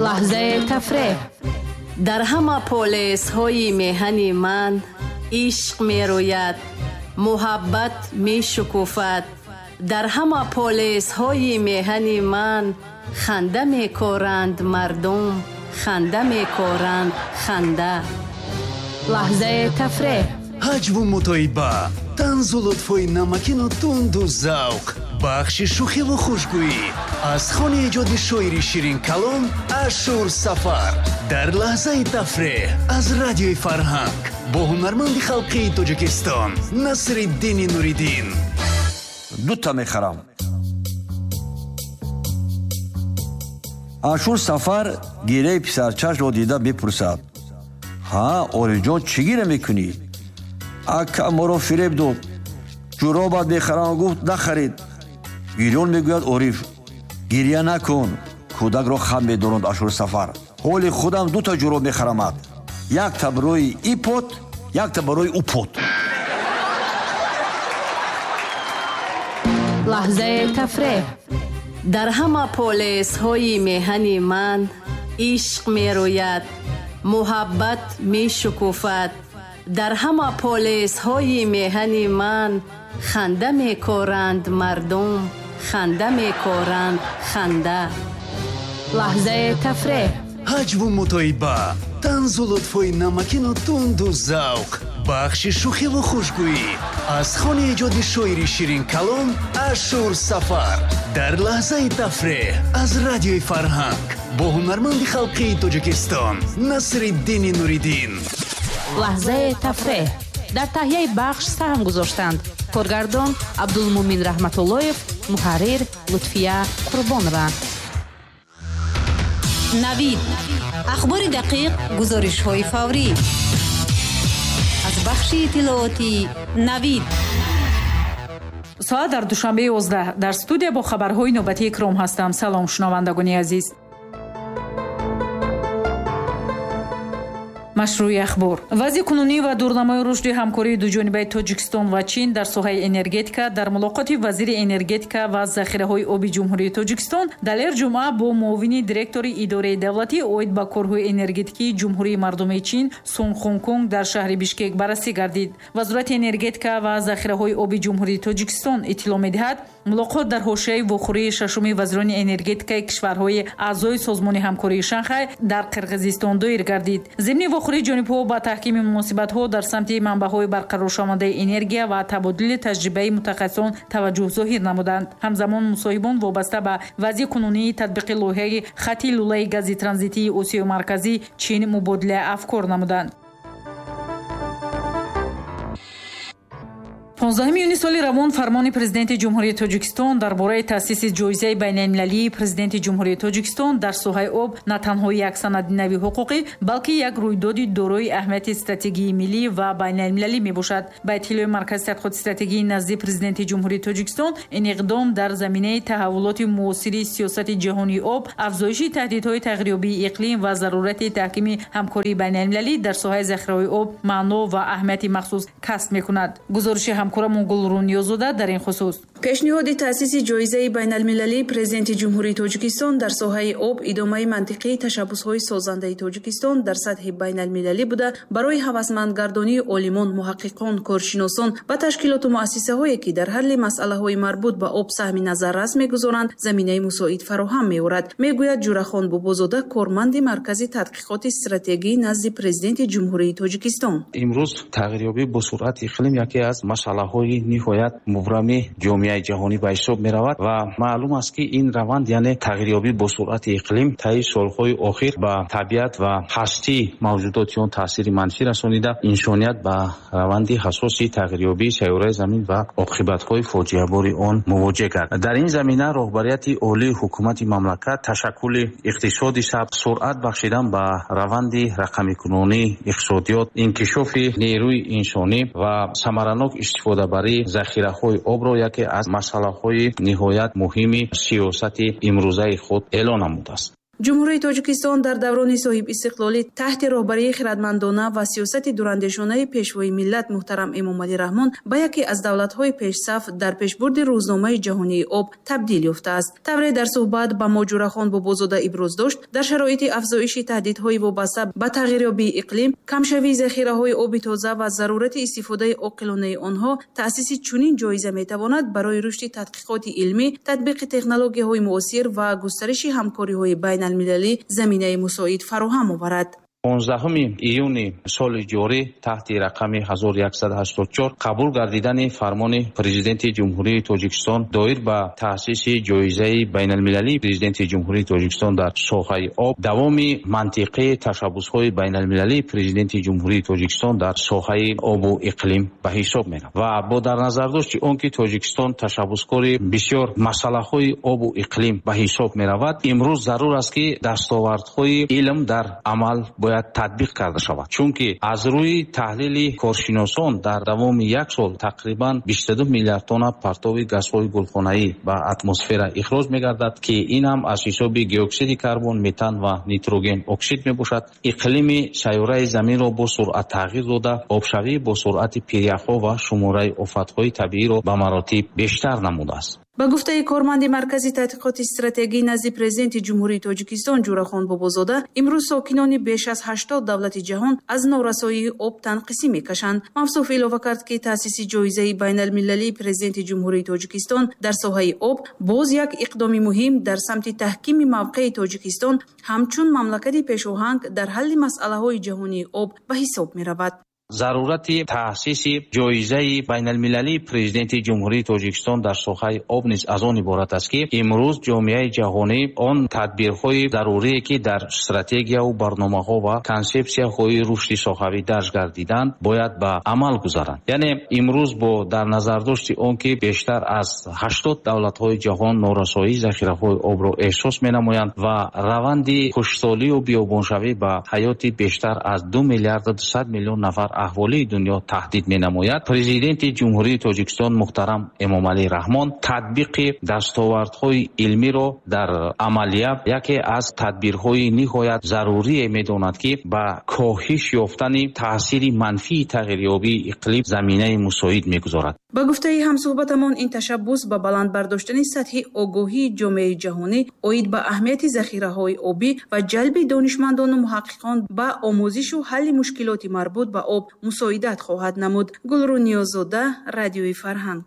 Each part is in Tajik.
Лаҳзаи тафреҳ. Дар ҳама полесҳои меҳани ман ишқ мерӯяд, муҳаббат мешукуфад. Дар ҳама полесҳои меҳани ман ханда мекоранд мардум, ханда мекоранд, ханда. Лаҳзаи тафреҳ. Ҳаҷву мутоиба, танзу лутфҳои намакину тунду завқ, бахши шӯхиву хушгӯӣ аз хони эҷоди шоири ширинкалом Ашур Сафар дар лаҳзаи тафреҳ аз Радиои Фарҳанг бо ҳунарманди халқии Тоҷикистон Насриддини Нуриддин. Дута мехарам. Ашур Сафар гираи писарчашро дида бипурсад: ҳа, Орифҷон, чӣ гира мекунӣ? Ака моро фиреб дод, ҷуробат мехарам, гуфт, нахарид. Гирён мегӯяд Ориф. Гирья накун, кӯдакро хам медоронд Ашур Сафар. Ҳоли худам дута ҷуроб мехарамад, якта барои ипот, якта барои упот. Лаҳзаи тафреҳ. Дар ҳама полесҳои меҳани ман ишқ мерӯяд, муҳаббат мешукуфад. Дар ҳама полесҳои меҳани ман ханда мекоранд мардум, ханда мекоранд, ханда. Лаҳзаи тафреҳ. Ҳаҷву мутоиба, танзу лутфҳои намакину тунду завқ, бахши шӯхиву хушгӯӣ аз хони эҷоди шоири ширинкалом Ашур Сафар дар лаҳзаи тафреҳ аз Радиои Фарҳанг бо ҳунарманди халқии Тоҷикистон Насриддини Нуриддин. Лаҳзаи тафреҳ. Дар таҳияи бахш саҳм гузоштанд коргардон Абдулмумин Раҳматуллоев, муҳаррир Лутфия Қурбонова. Навид. Ахбори дақиқ, гузоришҳои фаврӣ аз бахши иттилоотии Навид. Соат дар Душанбе 11. Дар студия бо хабарҳои навбатии Икром ҳастам. Салом, шунавандагони азиз. Машрӯи ахбор. Вазъи кунунӣ ва дурнамои рушди ҳамкории дуҷонибаи Тоҷикистон ва Чин дар соҳаи энергетика дар мулоқоти вазири энергетика ва захираҳои оби Ҷумҳурии Тоҷикистон Далер Ҷумъа бо муовини директори идораи давлатӣ оид ба корҳои энергетикии Ҷумҳурии Мардумии Чин Сун Хункунг дар шаҳри Бишкек баррасӣ гардид. Вазорати энергетика ва захираҳои оби Ҷумҳурии Тоҷикистон иттилоъ медиҳад, мулоқот дар ҳошияи вохӯрии шашуми вазирони энергетикаи кишварҳои аъзои Созмони ҳамкории Шанхай дар Қирғизистон доир гардид. Зимни вохӯрии ҷонибҳо ба таҳкими муносибатҳо дар самти манбаъҳои барқароршавандаи энергия ва табодули таҷрибаи мутахассисон таваҷҷӯҳ зоҳир намуданд. Ҳамзамон мусоҳибон вобаста ба вазъи кунунии татбиқи лоиҳаи хати лӯлаи гази транзитии Осиёи Марказӣ Чин мубодилаи афкор намуданд. 15 июни соли равон фармони Президенти Ҷумҳурии Тоҷикистон дар бораи таъсиси ҷоизаи байналмилалии Президенти Ҷумҳурии Тоҷикистон дар соҳаи об на танҳо як санади нави ҳуқуқӣ, балки як рӯйдоди дорои аҳамияти стратегии миллӣ ва байналмилалӣ мебошад. Ба иттилои Маркази тадқиқоти стратегии назди Президенти Ҷумҳурии Тоҷикистон, ин иқдом дар заминаи таҳаввулоти муосири сиёсати ҷаҳонии об, афзоиши таҳдидҳои тағйирёбии иқлим ва зарурати таҳкими ҳамкории байналмилалӣ дар соҳаи захираҳои об маъно ва аҳамияти махсус касб мекунад. Гузориши ҳамкорамон Гулрун Ниёзода дар ин хусус. Пешниҳоди таъсиси ҷоизаи байналмилалии Президенти Ҷумҳурии Тоҷикистон дар соҳаи об идомаи мантиқии ташаббусҳои созандаи Тоҷикистон дар сатҳи байналмилалӣ буда, барои ҳавасмандгардонии олимон, муҳаққиқон, коршиносон ва ташкилоту муассисаҳое, ки дар ҳалли масъалаҳои марбут ба об саҳми назаррас мегузоранд, заминаи мусоид фароҳам меорад, мегӯяд Ҷурахон Бобозода, корманди Маркази тадқиқоти стратегӣ назди Президенти Ҷумҳурии Тоҷикистон. Имрӯз тағйирёбӣ бо суръати иқлим яке аз масъалаҳои ниҳоят мубрами ҷомеаи ҷаҳонӣ ба ҳисоб меравад ва маълум аст, ки ин раванд, яъне тағйирёбӣ бо суръати иқлим, таи солҳои охир ба табиат ва ҳастии мавҷудоти он таъсири манфӣ расонида, инсоният ба раванди ҳассоси тағйирёбии сайёраи замин ва оқибатҳои фоҷиабори он мувоҷеҳ кард. Дар ин замина роҳбарияти олии ҳукумати мамлакат ташаккули иқтисоди сабз, суръат бахшидан ба раванди рақамикунонии иқтисодиёт, инкишофи нерӯи инсонӣ ва самаранок истифодабарии захираҳои обро яке аз масъалаҳои ниҳоят муҳими сиёсати имрӯзаи худ эълон намудааст. Ҷумҳурии Тоҷикистон дар даврони соҳибистиқлолӣ таҳти роҳбарии хирадмандона ва сиёсати дурандешонаи Пешвои миллат муҳтарам Эмомалӣ Раҳмон ба яке аз давлатҳои пешсаф дар пешбурди рӯзномаи ҷаҳонии об табдил ёфтааст. Тавре дар суҳбат ба мо Ҷӯрахон Бобозода иброз дошт, дар шароити афзоиши таҳдидҳои вобаста ба тағйирёбии иқлим, камшавии захираҳои оби тоза ва зарурати истифодаи оқилонаи онҳо, таъсиси чунин ҷоиза метавонад барои рушди тадқиқоти илмӣ, татбиқи технологияҳои муосир ва густариши ҳамкориҳои байналмилалӣ заминаи мусоид фароҳам оварад. 15 июни соли ҷорӣ таҳти рақами 1184 қабул гардидани фармони Президенти Ҷумҳурии Тоҷикистон доир ба таъсиси ҷоизаи байналмилалии Президенти Ҷумҳурии Тоҷикистон дар соҳаи об давоми мантиқии ташаббусҳои байналмилалии Президенти Ҷумҳурии Тоҷикистон дар соҳаи обу иқлим ба ҳисоб меравад ва бо дар назардошти он ки Тоҷикистон ташаббускори бисёр масъалаҳои обу иқлим ба ҳисоб меравад, имрӯз зарур аст ки дастовардҳои илм дар амал бояд татбиқ карда шавад, чунки аз рӯи таҳлили коршиносон дар давоми як сол тақрибан 22 миллиард тонна партови газҳои гулхонаӣ ба атмосфера ихроҷ мегардад, ки ин ҳам аз ҳисоби геоксиди карбон, метан ва нитроген оксид мебошад. Иқлими сайёраи заминро бо суръат тағйир дода, обшавӣ бо суръати пиряхҳо ва шумораи офатҳои табииро ба маротиб бештар намудааст. Ба гуфтаи корманди Маркази тадқиқоти стратегӣ назди Президенти Ҷумҳурии Тоҷикистон Ҷӯрахон Бобозода, имрӯз сокинони беш аз 80 давлати ҷаҳон аз норасоии об танқисӣ мекашанд. Мавсуф илова кард, ки таъсиси ҷоизаи байналмилалии Президенти Ҷумҳурии Тоҷикистон дар соҳаи об боз як иқдоми муҳим дар самти таҳкими мавқеи Тоҷикистон ҳамчун мамлакати пешоҳанг дар ҳалли масъалаҳои ҷаҳонии об ба ҳисоб меравад. Зарурати таъсиси ҷоизаи байналмилалии Президенти Ҷумҳурии Тоҷикистон дар соҳаи об низ аз он иборат аст, ки имрӯз ҷомеаи ҷаҳонӣ он тадбирҳои зарурие ки дар стратегияву барномаҳо ва консепсияҳои рушди соҳавӣ дарҷ гардиданд, бояд ба амал гузаранд. Яъне имрӯз бо дар назардошти он ки бештар аз 80 давлатҳои ҷаҳон норасоии захираҳои обро эҳсос менамоянд ва раванди хушксолию биёбоншавӣ ба ҳаёти бештар аз 2 миллиарду 200 миллион нафар аҳволии дунё таҳдид менамояд, Президенти Ҷумҳурии Тоҷикистон муҳтарам Эмомалӣ Раҳмон татбиқи дастовардҳои илмиро дар амалия яке аз тадбирҳои ниҳоят зарурие медонад, ки ба коҳиш ёфтани таъсири манфии тағйирёбии иқлим заминаи мусоид мегузорад. Ба гуфтаи ҳамсуҳбатамон, ин ташаббус ба баланд бардоштани сатҳи огоҳии ҷомеаи ҷаҳонӣ оид ба аҳамияти захираҳои обӣ ва ҷалби донишмандону муҳаққиқон ба омӯзишу ҳалли мушкилоти марбут ба об мусоидат хоҳад намуд. Гулрӯ Ниёзода, Радиои Фарҳанг.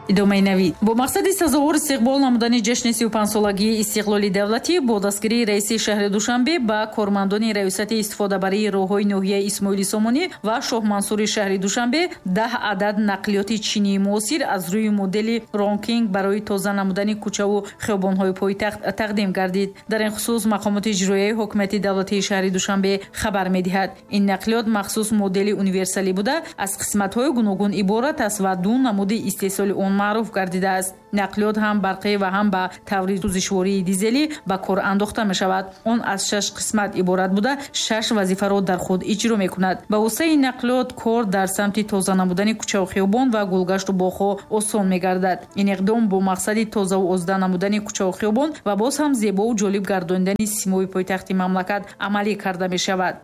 Идомаи навид. Бо мақсади сазовор истиқбол намудани ҷашни 35-солагии истиқлоли давлатӣ бо дастгирии раиси шаҳри Душанбе ба кормандони раёсати истифодабарии роҳҳои ноҳияи Исмоили Сомонӣ ва Шоҳмансури шаҳри Душанбе 10 адад нақлиёти чинии муосир аз рӯи модели Ронкинг барои тоза намудани кӯчаву хиёбонҳои пойтахт тақдим гардид. Дар ин хусус мақомоти иҷроияи ҳокимияти давлатии шаҳри Душанбе хабар медиҳад. Ин нақлиёт махсус модели универсалӣ буда, аз қисматҳои гуногун иборат аст ва ду намуди истеҳсоли он маъруф гардидааст. Нақлиёт ҳам барқӣ ва ҳам ба таври сӯзишвории дизелӣ ба кор андохта мешавад. Он аз 6 қисмат иборат буда, 6 вазифаро дар худ иҷро мекунад. Ба воситаи ин нақлиёт кор дар самти тоза намудани кӯчаву хиёбон ва гулгашту боғҳо осон мегардад. Ин иқдом бо мақсади тозаву озода намудани кӯчаву хиёбон ва боз ҳам зебову ҷолиб гардонидани симои пойтахти мамлакат амалӣ карда мешавад.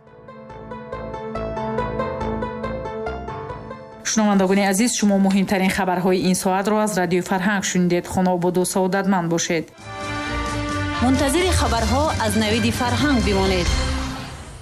Шунавандагони азиз, шумо муҳимтарин хабарҳои ин соатро аз Радиои Фарҳанг шунидед. Хонаободу саодатманд бошед. Мунтазири хабарҳо аз Навиди Фарҳанг бимонед.